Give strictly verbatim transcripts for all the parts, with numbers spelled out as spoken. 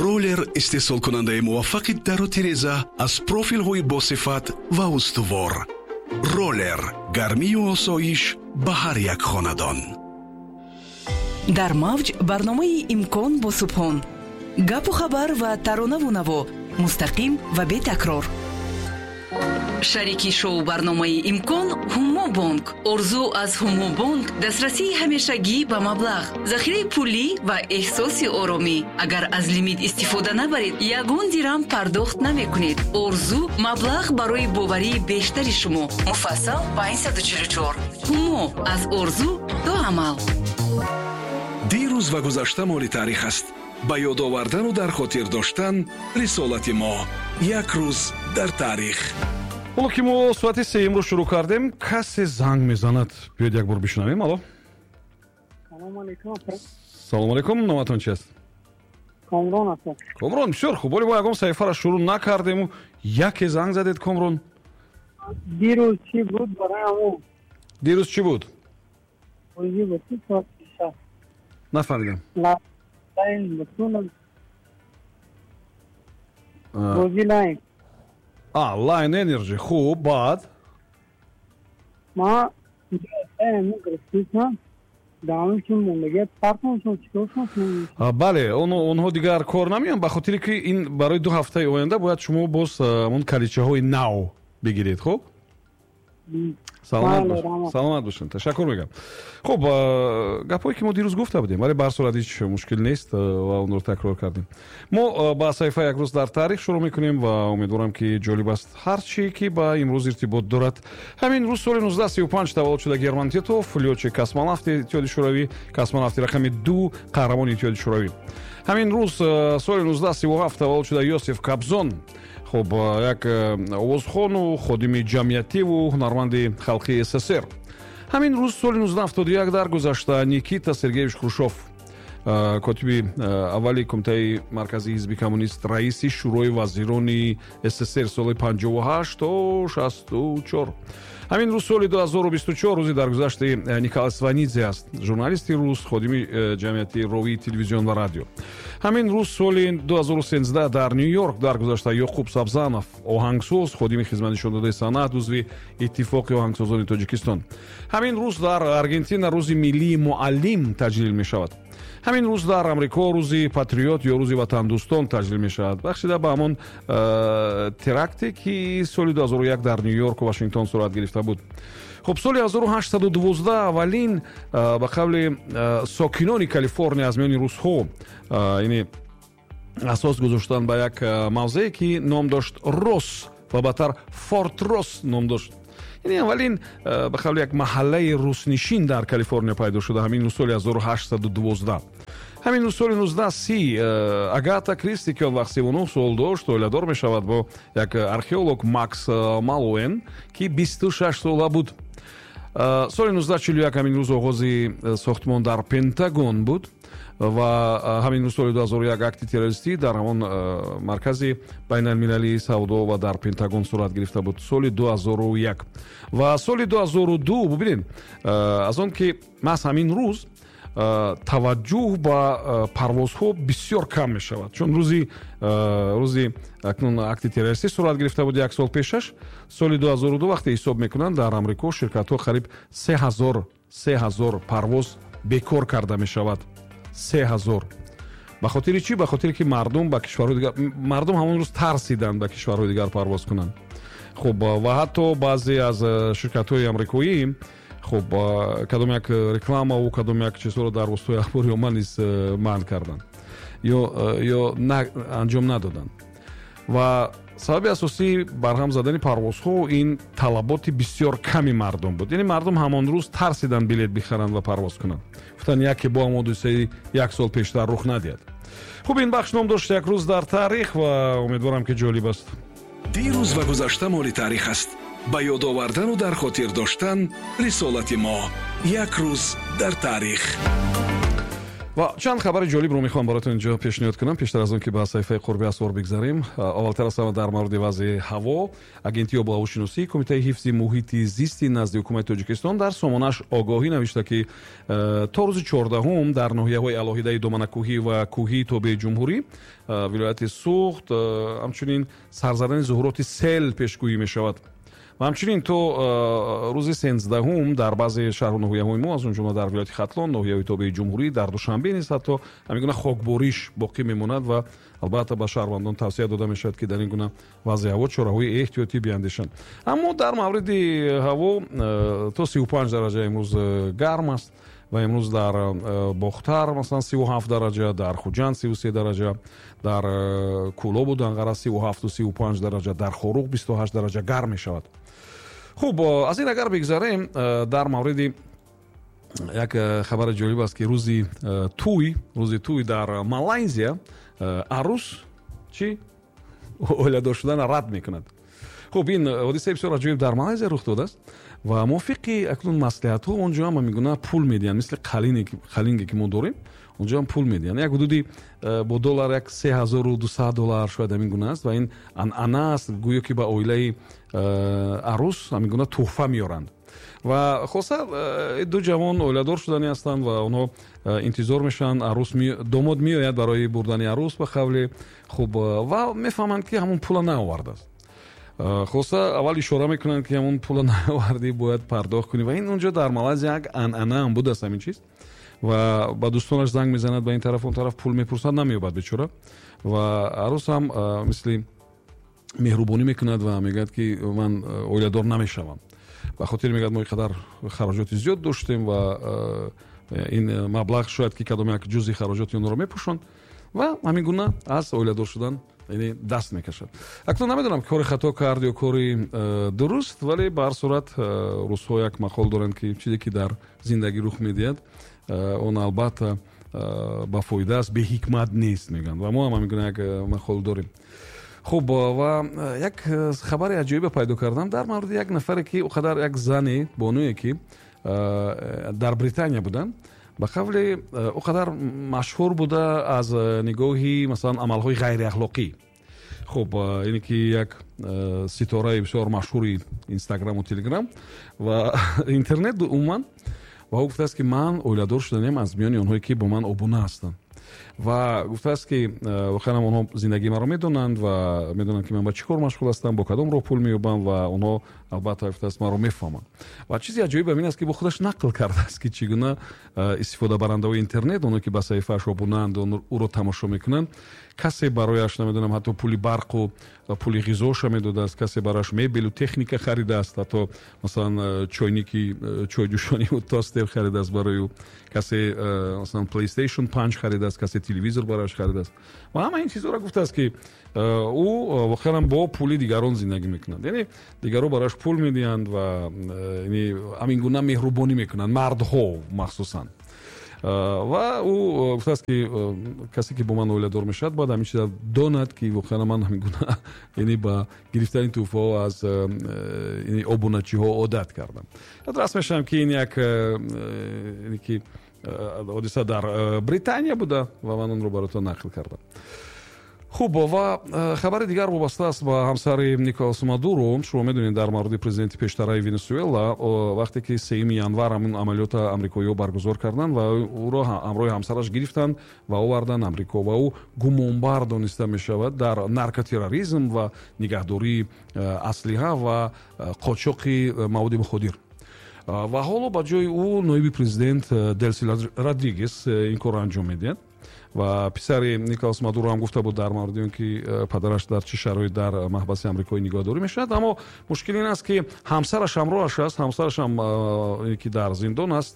Роллер истеҳсолкунандаи муваффақи дару тиреза аз профилҳои босифат ва устувор. Роллер гармию осоиш ба ҳар як хонадон. Дар мавҷ барномаи «Имкон» бо Субҳон. Гапу хабар ва таронаву наво мустақим ва бетакрор. Шарики шоу барномаи «Имкон» Ҳумо Бонк. Орзу аз Ҳумо Бонк дастрасии ҳамешагӣ ба маблағ, захираи пулӣ ва эҳсоси оромӣ. Агар аз лимит истифода набаред, ягон дирам пардохт намекунед. Орзу маблағ барои боварии бештари шумо. Муфассал панҷсаду чилу чор. Ҳумо аз орзу то амал. Дирӯз ва гузашта моли таърих аст. Ба ёд овардану дар хотир доштан рисолати мо. Як рӯз дар таърих. Ҳоло ки мо соати сеюмро шурӯъ кардем, касе занг мезанад. Биёед, як бор бишунавем. Алло. Салому алейкум. Салому алейкум, номатон чи аст? Комрон аст. Комрон, бисёр хуб. Оли мо ягон саҳифаро шурӯъ накардему яке занг задед, Комрон. Дирӯз чӣ буд барои ҳамон? Дирӯз чӣ буд? Бозӣ буд, соат шаш. Нафаҳмидам. Лайн буд, бозӣ Лайн. А, Лайн Энерджи. Хуб, баъд? Ма гирифтам. Бале, онҳо дигар кор намеён, ба хотире ки ин барои ду ҳафтаи оянда бояд шумо боз он калидчаҳои нав бигиред. Хуб, саломат бошед, ташаккур мегӯям. Хуб, гапҳое ки мо дирӯз гуфта будем, вале ба ҳар сурат ҳеҷ мушкил нест ва онро такрор кардем. Мо ба саҳифаи «Як рӯз дар таърих» шурӯъ мекунем ва умедворам, ки ҷолиб аст ҳар чӣ ки ба имрӯз иртибот дорад. Ҳамин рӯз соли нуздаҳ сию панҷ таваллуд шуда Герман Титов, лётчик космонавти Иттиҳоди Шӯравӣ, космонавти рақами ду, қаҳрамони Иттиҳоди Шӯравӣ. Ҳамин рӯз соли нуздаҳ сиву ҳафт таваллуд шуда Ёсиф Кобзон. Хуб, як овозхону ходими ҷамъиятиву ҳунарманди халқии С С С Р. Ҳамин рӯз соли нуздаҳ ҳафтоду як даргузашта Никита Сергеевич Хрушов, котиби аввали Кумитаи марказии ҳизби коммунист, раиси Шӯрои вазирони С С С Р соли панҷоҳу ҳашт то шасту чор. Ҳамин рӯз соли ду ҳазору бисту чор рӯзи даргузашти Николай Сванидзе аст, журналисти рус, ходими ҷамъияти, ровии телевизион ва радио. Ҳамин рӯз соли ду ҳазору сенздаҳ дар Ню Йорк даргузашта Ёқуб Сабзанов, оҳангсоз, ходими хизматнишондодаи санъат, узви Иттифоқи оҳангсозони Тоҷикистон. Ҳамин рӯз дар Аргентина рӯзи миллии муаллим таҷлил мешавад. Ҳамин рӯз дар Амрико рӯзи патриот ё рӯзи ватандӯстон таҷлил мешавад, бахшида ба ҳамон э, теракте, ки соли ду ҳазору як дар Ню Йорку Вашингтон сурат гирифта буд. Хуб, соли ҳазору ҳаштсаду дувоздаҳ аввалин э, ба қавли э, сокинони Калифорния аз миёни русҳо, яъне асос гузоштанд ба як мавзее, ки ном дошт Рос ва баъдтар Форт Рос ном дошт. Яъне аввалин, ба қавли, як маҳаллаи руснишин дар Калифорния пайдо шуда ҳамин рӯз соли ҳазору ҳаштсаду дувоздаҳ. Ҳамин рӯз соли нуздаҳ си Агата Кристи, ки он вақт сиву нӯҳ сол дошт, оиладор мешавад бо як археолог Макс Малуэн, ки бисту шаш сола буд. Соли нуздаҳ чилу як ҳамин рӯз оғози сохтмон дар Пентагон буд. Ва ҳамин рӯз соли ду ҳазору як акти террористӣ дар ҳамон маркази байналмилалии савдо ва дар Пентагон сурат гирифта буд соли ду ҳазору як. Ва соли ду ҳазору ду, бубинед, аз он ки маҳз ҳамин рӯз таваҷҷӯҳ ба парвозҳо бисёр кам мешавад, чун рӯзи рӯзи акнун акти террористӣ сурат гирифта буд як сол пешаш, соли ду ҳазору ду вақте ҳисоб мекунанд, дар Амрико ширкатҳо қариб се ҳазор се ҳазор парвоз бекор карда мешавад. Се ҳазор. Ба хотири чӣ? Ба хотире ки мардум ба кишварҳои дигар, мардум ҳамон рӯз тарсиданд ба кишварҳои дигар парвоз кунанд. Хуб, ва ҳатто баъзе аз ширкатҳои амрикоӣ, хуб, кадом як рекламаву кадом як чизҳоро дар воситаҳои ахбори омма низ манъ карданд ё ё анҷом надоданд. Ва сабаби асосии барҳам задани парвозҳо ин талаботи бисёр ками мардум буд. Яъне мардум ҳамон рӯз тарсиданд билет бихаранд ва парвоз кунанд, гуфтанд, яке бо ҳам ҳодисаи як сол пештар рух надиҳад. Хуб, ин бахш ном дошт «Як рӯз дар таърих» ва умедворам, ки ҷолиб аст. Дирӯз ва гузашта моли таърих аст. Ба ёд овардану дар хотир доштан рисолати мо. Як рӯз дар таърих. Ва чанд хабари ҷолибро мехоҳам бароятон инҷо пешниҳод кунам. Пештар аз он ки ба саҳифаи қурби асвор бигзарем, аввалтар аз ҳама дар мавриди вазъи ҳаво. Агентии обуҳавошиносӣ, Кумитаи ҳифзи муҳити зисти назди ҳукумати Тоҷикистон дар сомонааш огоҳӣ навишта, ки то рӯзи чордаҳум дар ноҳияҳои алоҳидаи доманакӯҳӣ ва кӯҳии тобеи ҷумҳурӣ, вилояти Суғд, ҳамчунин сарзадани зуҳуроти сел пешгӯӣ мешавад. Ва ҳамчунин то рӯзи сенздаҳум дар баъзе шаҳру ноҳияҳои мо, аз он ҷумла дар вилояти Хатлон, ноҳияҳои тобеи ҷумҳурӣ, дар Душанбе низ ҳатто ҳамин гуна хокбориш боқӣ мемонад ва албатта ба шаҳрвандон тавсия дода мешавад, ки дар ин гуна вазъи ҳаво чораҳои эҳтиётӣ биандешанд. Аммо дар мавриди ҳаво то сию панҷ дараҷа имрӯз гарм аст ва имрӯз дар Бохтар масалан сию ҳафт дараҷа, дар Хуҷанд сию се дараҷа, дар Кӯлобу Данғара сию ҳафту сию панҷ дараҷа, дар Хоруғ бисту ҳашт дараҷа гарм мешавад. Хуб, аз ин агар бигзарем, дар мавриди як хабари ҷолиб аст, ки рӯзи тӯй, рӯзи тӯй дар Малайзия арӯс чӣ оиладор шуданро рад мекунад. Хуб, ин ҳодисаи бисёр аҷоиб дар Малайзия рух додааст ва мувофиқи акнун маслиҳатҳо онҷо ҳам ҳамин пул медиҳанд, мисли қалинге ки мо дорем, онҷо ҳам пул медиҳанд. Як ҳудуди бо доллар як се ҳазору дусад доллар шояд ҳамин гуна аст ва ин анъана аст, гӯё ки ба оилаи арӯс ҳамин гуна тӯҳфа меоранд. Ва хулоса ду ҷавон оиладор шудани ҳастанд ва онҳо интизор мешаванд, арӯс домод меояд барои бурдани арӯс ба қавли хуб ва мефаҳманд, ки ҳамон пула наовардааст. Хулоса аввал ишора мекунанд, ки ҳамон пула наовардӣ, бояд пардохт кунӣ ва ин онҷо дар Малайзия як анъана ҳам будааст ҳамин чиз. Ва ба дӯстонаш занг мезанад, ба ин тараф он тараф пул мепурсад, намеёбад бечора. Ва арӯс ҳам мисли меҳрубонӣ мекунад ва мегӯяд, ки ман оиладор намешавам. Ба хотир мегӯяд, мо инқадар хароҷоти зиёд доштем ва ин маблағ шояд ки кадом як ҷузъи хароҷоти онро мепӯшонд ва ҳамин гуна аз оиладор шудан яъне даст мекашад. Акнун намедонам кори хато кард ё кори дуруст, вале ба ҳар сурат русҳо як мақол доранд, ки чизе ки дар зиндагӣ рух медиҳад, он албатта ба фоида аст, беҳикмат нест мегӯянд ва мо ҳам ҳамин гуна як мақол дорем. Хуб, ва як хабари аҷоибе пайдо кардам дар мавриди як нафаре, ки оқадар як зане бонуе, ки дар Британия буданд, ба қавли оқадар машҳур буда аз нигоҳи масалан амалҳои ғайриахлоқӣ. Хуб, ине ки як ситораи бисёр машҳури Инстаграму Телеграм ва интернет умуман, ва ӯ гуфтааст, ки ман оиладор шуданем аз миёни онҳое, ки бо ман обуна ҳастанд. Ва гуфтааст, ки воқеан онҳо зиндагии маро медонанд ва медонанд, ки ман ба чӣ кор машғул ҳастам, бо кадом роҳ пул меёбам ва онҳо албатта гуфтааст маро мефаҳманд. Ва чизи аҷоиб ин аст, ки бо худаш нақл кардааст, ки чӣ гуна истифодабарандаҳои интернет, онҳое ки ба саҳифааш обунаанд, ӯро тамошо мекунанд, касе барояш намедонам ҳатто пули барқу пули ғизоша медодааст, касе барояш мебелу техника харидааст, ҳатто масалан чойники чойҷӯшониву тостер харидааст барои ӯ, касе масалан PlayStation панҷ харидааст, касе телевизор барояш харидааст. Ва ҳама ин чизҳоро гуфтааст, ки ӯ воқеан бо пули дигарон зиндагӣ мекунад, яъне дигарон барояш пул медиҳанд ва ҳамин гуна меҳрубонӣ мекунанд, мардҳо махсусан. Ва ӯ гуфтааст, ки касе ки бо ман оиладор мешавад, бояд ҳамин чиза донад, ки воқеан ман ҳамин гуна яъне ба гирифтани тӯҳфаҳо аз обуначиҳо одат кардам. Раст мешавам, ки ин як ки ҳодиса дар Британия буда ва ман онро бароятон нақл кардам. Хуб, ва хабари дигар вобаста аст ба ҳамсари Николас Мадуро. Шумо медонед дар мавриди президенти пештараи Венесуэла, вақте ки сеюми январ ҳамин амалиёта амрикоиҳо баргузор карданд ва ӯро ҳамроҳи ҳамсараш гирифтанд ва оварданд Амрико ва ӯ гумонбар дониста мешавад дар наркотерроризм ва нигаҳдории аслиҳа ва қочоқи маводи муходир. Ва ҳоло ба ҷои ӯ ноиби президент Делси Родригес ин корро анҷом медиҳад. Ва писари Николас Мадуро ҳам гуфта буд дар мавриди он, ки падараш дар чӣ шароит дар маҳбаси амрикоӣ нигоҳдорӣ мешавад. Аммо мушкил ин аст, ки ҳамсараш ҳамроҳаш аст, ҳамсараш ҳам ки дар зиндон аст,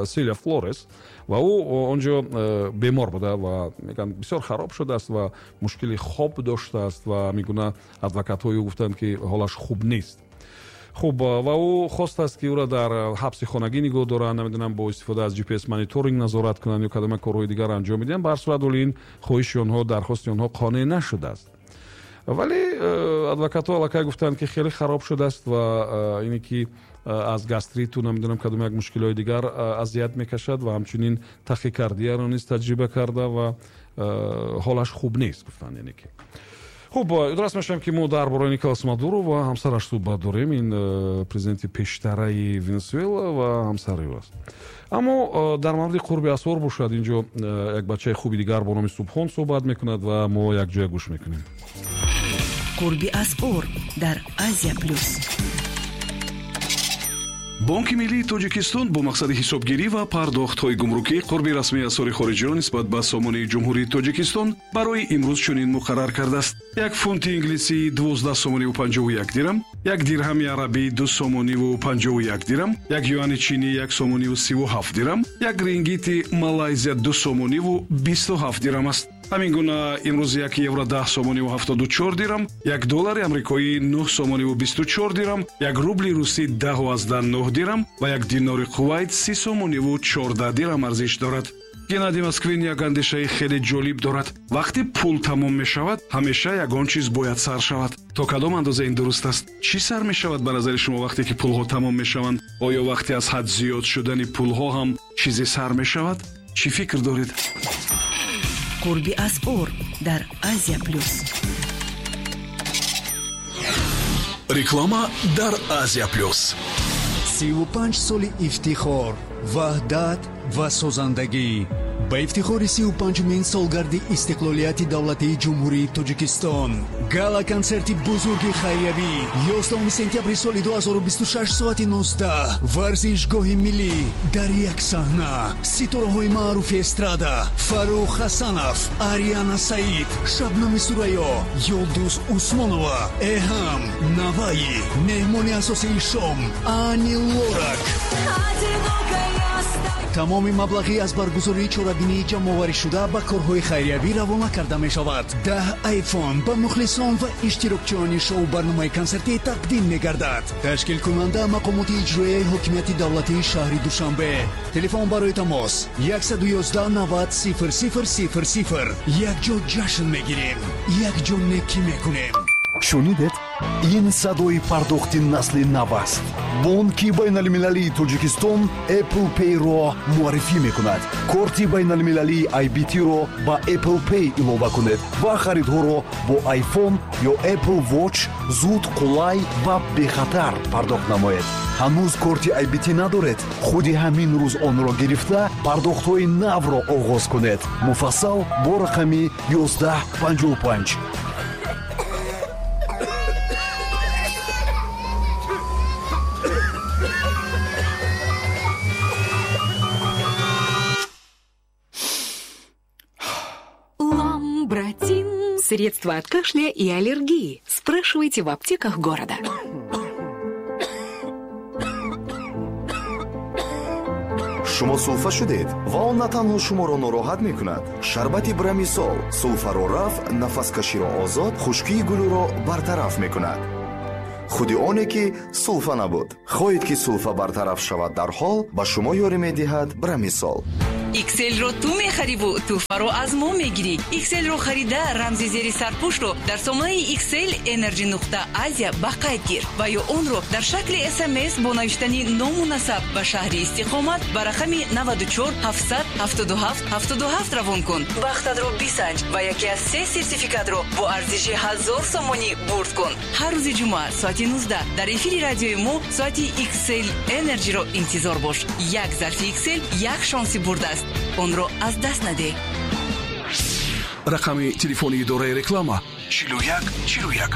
Силия Флорес, ва ӯ онҷо бемор буда ва мегӯянд бисёр хароб шудааст ва мушкили хоб доштааст ва мегуна адвокатҳои ӯ гуфтанд, ки ҳолаш хуб нест. Хуб, ва ӯ хостааст, ки ӯро дар ҳабси хонагӣ нигоҳ доранд, намедонам бо истифода аз джи пи эс мониторинг назорат кунанд ё кадоме корҳои дигар анҷом медиҳанд. Ба ҳар сурат вале ин хоҳиши онҳо, дархости онҳо қонеъ нашудааст. Вале адвокатҳо аллакай гуфтанд, ки хеле хароб шудааст ва ине ки Аз гастриту намедонам кадом як мушкилҳои дигар азият мекашад ва ҳамчунин тахикардияро низ таҷриба карда ва ҳолаш хуб нест, гуфтанд. Яъне ки хуб, ёдрас мешавем, ки мо дар бораи Николас Мадуро ва ҳамсараш суҳбат дорем. Ин президенти пештараи Венесуэла ва ҳамсари ӯ аст. Аммо дар мавриди қурби асъор бошад, инҷо як бачаи хуби дигар бо номи Субҳон суҳбат мекунад ва мо якҷоя гӯш мекунем. Қурби асъор дар Азия Плюс. Бонки миллии Тоҷикистон бо мақсади ҳисобгирӣ ва пардохтҳои гумрукӣ қурби расмии асъори хориҷиро нисбат ба сомонии Ҷумҳурии Тоҷикистон барои имрӯз чунин муқаррар кардааст. Як фунти инглисӣ дувоздаҳ сомониву панҷоҳу як дирам, як дирҳами арабӣ ду сомониву панҷоҳу як дирам, як юани чинӣ як сомониву сиву ҳафт дирам, як рингити Малайзия ду сомониву бисту ҳафт дирам аст. Ҳамин гуна имрӯз як евро даҳ сомониву ҳафтоду чор дирам, як доллари амрикоӣ нӯҳ сомониву бисту чор дирам, як рубли русӣ даҳу аздаҳ нӯҳ дирам ва як динори Кувайт си сомониву чордаҳ дирам арзиш дорад. Геннадий Москвин як андешаи хеле ҷолиб дорад. Вақте пул тамом мешавад, ҳамеша ягон чиз бояд сар шавад. То кадом андоза ин дуруст аст? Чӣ сар мешавад ба назари шумо вақте ки пулҳо тамом мешаванд? Оё вақте аз ҳад зиёд шудани пулҳо ҳам чизе сар мешавад? Чӣ фикр доред? Қурби асъор дар Азия Плюс. Реклама дар Азия Плюс. Сиву панҷ соли ифтихор, ваҳдат ва созандагӣ. Ба ифтихори сиву панҷумин солгарди истиқлолияти давлатии Ҷумҳурии Тоҷикистон гала-консерти бузурги хайриявӣ ёздаҳуми сентябри соли ду ҳазору бисту шаш соати нуздаҳ, варзишгоҳи миллӣ дар як саҳна ситораҳои маъруфи эстрада Фаррух Ҳасанов, Ариана Саид, Шабнами Сурайё, Юлдуз Усмонова, Эҳам Наваи, меҳмони асосии шом Ани Лорак. Тамоми маблағи аз баргузории чорабинии ҷамъоварӣшуда ба корҳои хайриявӣ равона карда мешавад. Даҳ айфон ба мухлисон ва иштирокчиёни шоу барномаи консертӣ тақдим мегардад. Ташкилкунанда мақомоти иҷроияи ҳокимияти давлатии шаҳри Душанбе. Телефон барои тамос яксаду ёздаҳ навад сифр сифр сифр сифр. Якҷо ҷашн мегирем, якҷо некӣ мекунем. Шунидед? Ин садои пардохти насли нав аст. Бонки байналмилалии Тоҷикистон Apple Pay-ро муаррифӣ мекунад. Корти байналмилалии ай би ти-ро ба Apple Pay илова кунед ва харидҳоро бо iPhone ё Apple Watch зуд, қулай ва бехатар пардохт намоед. Ҳанӯз корти ай би ти надоред? Худи ҳамин рӯз онро гирифта пардохтҳои навро оғоз кунед. Муфассал бо рақами ёздаҳ панҷоҳу панҷ. Средства от кашля и аллергии. Спрашивайте в аптеках города. Шумо сулфа шудед ва он на танҳо шуморо нороҳат мекунад. Шарбати Брамисол сулфаро рафъ, нафаскаширо озод, хушкии гулӯро бартараф мекунад. Худи оне ки сулфа набуд. Хоҳед ки сулфа бартараф шавад дарҳол, ба шумо ёрӣ медиҳад Брамисол. Икселро ту мехариву тӯҳфаро аз мо мегирӣ. Икселро харида рамзи зери сарпӯшро дар сомонаи Иксел Energy нуқта Азия ба қайд гир ва ё онро дар шакли СМС бо навиштани ному насаб ба шаҳри истиқомат ба рақами наваду чор ҳафтсад ҳафтоду ҳафт ҳафтоду ҳафт равон кун. Бахтатро бисанҷ ва яке аз се сертификатро бо арзиши ҳазор сомонӣ бурд кун. Ҳар рӯзи ҷумъа соати нуздаҳ дар эфири радиои мо соати Иксел Energy-ро интизор бош. Як зарфи Иксел як шонси бурд аст. Онро аз даст надеҳ. Рақами телефони идораи реклама чилу як чилу як.